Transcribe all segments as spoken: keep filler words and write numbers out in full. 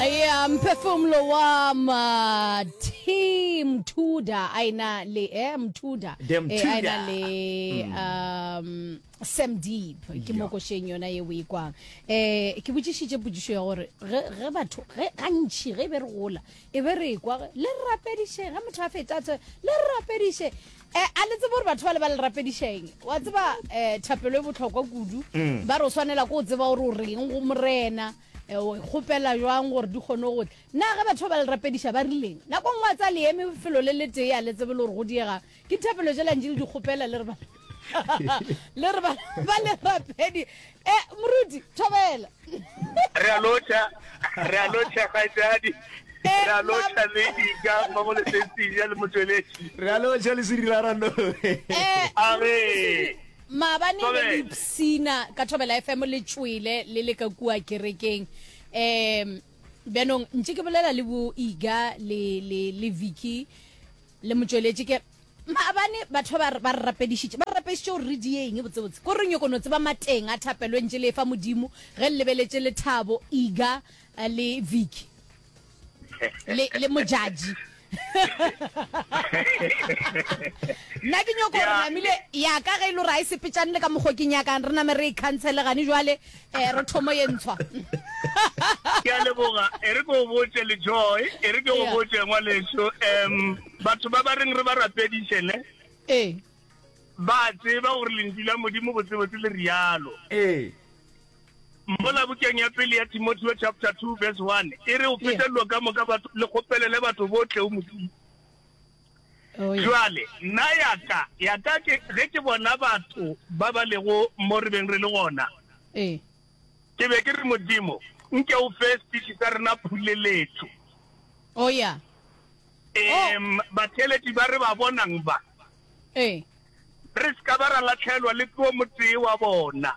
Ya mphefumlo wa ma team Tudor a ena le eh Mthuda Dem eh, a ena Tudor. le um Sam Deep ke mo košeng yona ye o e kwang eh ke botšišitše potšišo ya gore ge ge batho ge gantši ge e be re gola e be re kwa le re rapedišeng ge motho a feta a le re rapediše eh a le tsebe gore batho ba le ba le rapedišeng wa tseba eh thapelo e bohlokwa kudu ba re o swanela ko o tseba gore o reng go morena eh, o kgopela jwang gore di kgone go tla nna ge batho ba ba le rapediša ba rileng nako nngwe a tsa le eme felo le le tee a le tsebe le gore go diegang ke thapelo tšela ntše le di kgopela le re ba le re ba ba le rapedi e moruti thobela re a lotšha re a lotšha kgaitsadi Eh, re a lotšha mam- le ika mmogo le sensija le motsweletši re a lotšha le serila rano Eh, A re. maabane be le Thobela. ipsina ka thobela fm le tšwele le le ka kua kerekeng um bjanong ntše ke bolela le bo iga le le le vicky le motsweletši ke maabane batho ba ba re rapedišitše ba re rapedišitše gore re dieng botsebotse ko re nyoko no tseba mateng a thapelo e ntše le fa modimo ge le lebeletše lethabo iga eh, le vicky le le mojaji nna ke nyoko gore Ya. namile ya ka ge e le gore a e sepetšane le ka mokgwa ke nyakang re name re e cancele gane jwale um re thomo ye ntshwa ke a leboga e re ke o botse le joy e re ke o Yeah. botse ngwaleso um batho ba ba reng re ba rapediše ne ee ba tseba gore lentšu la modimo botsebotse le rialo ee mola bukeng ya pele ya timotheo chapter two verse one e re o fete dilo ka moka batho le kgopelele batho botle o modimo Oh, yeah. jwale nna yaka yaka ke ge ke bona batho ba ba lego mo re beng re le gona ee ke be ke re modimo nke o fe speech sa rena phuleletso oh ya um batheeletši ba re ba bonang ba ee re se ka ba ra latlhelwa le ke o motee wa bona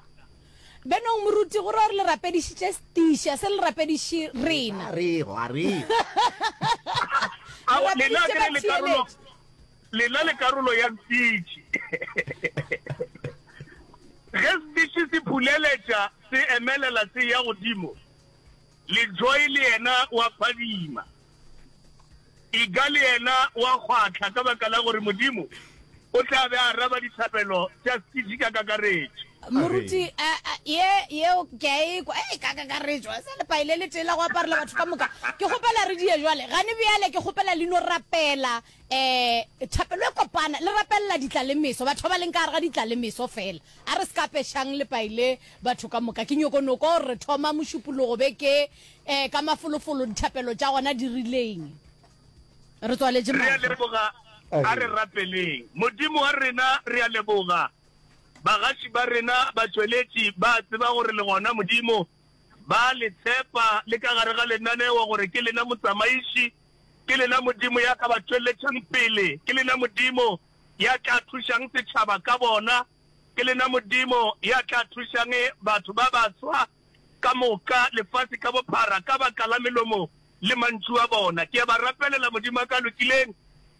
benong moruti gore gore le rapedišitše setiša se le rapediše rena a rego a rego Ao, Le lena rapedišitše ke re le karolo batheeletši. lena le karolo ya speech ge speech se phuleletša se emelela se ya godimo le joy le yena wa phadima iga le yena wa kgwatlha ka baka la gore modimo o tla be a araba dithapelo tša speech ka kakaretšo moruti a- a- ye yeo ke a ekwa e ka kakaretšo se lepai le letee la go aparela batho ka moka ke kgopela re die jwale gane bjale ke kgopela leino rapela um thapelo e kopana le rapelela ditla le meso batho ba ba leng ka gare ga ditla le meso fela a re se ka pešang lepai le batho ka moka ke nyokonoko gore re thoma mošupologo beke um ka mafolofolo dithapelo tša gona di rileng re tswaletše re a mahlo leboga a re rapeleng modimo wa rena re a leboga bagaši ba rena batsweletši ba tseba gore le gona modimo ba le tshepa le ka gare ga lenaneo gore ke lena motsamaiši ke lena modimo ya ka ba tšweletšang pele ke lena modimo ya tla thušang setšhaba ka bona ke lena modimo ya tla thušang batho ba baswa ka moka lefase ka bophara ka baka la melomo le mantšu a bona ke a ba rapelela modimo a ka lokileng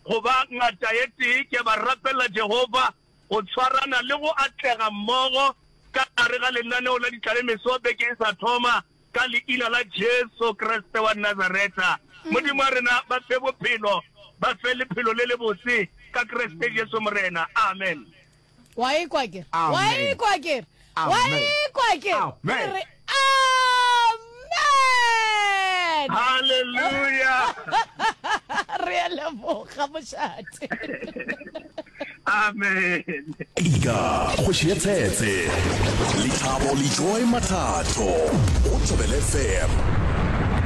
go ba ngata ye tee ke a ba rapelela jehova go tshwarana le go atlega mmogo ka gare ga lenaneo la ditlalemeso beke e sa thoma ka leina la jesu kriste wa nazareta modimo wa rena ba fe bophelo ba fe lephelo le lebotse ka kriste jesu morena amen wa ekwa kere Amen. wa ekwa kere wa Amen. ekwa kere Amen. re amen halleluja re a leboga mošate amen Ika kgoši ya tshetse Lethabo le Joy Mathatho go Thobela F M.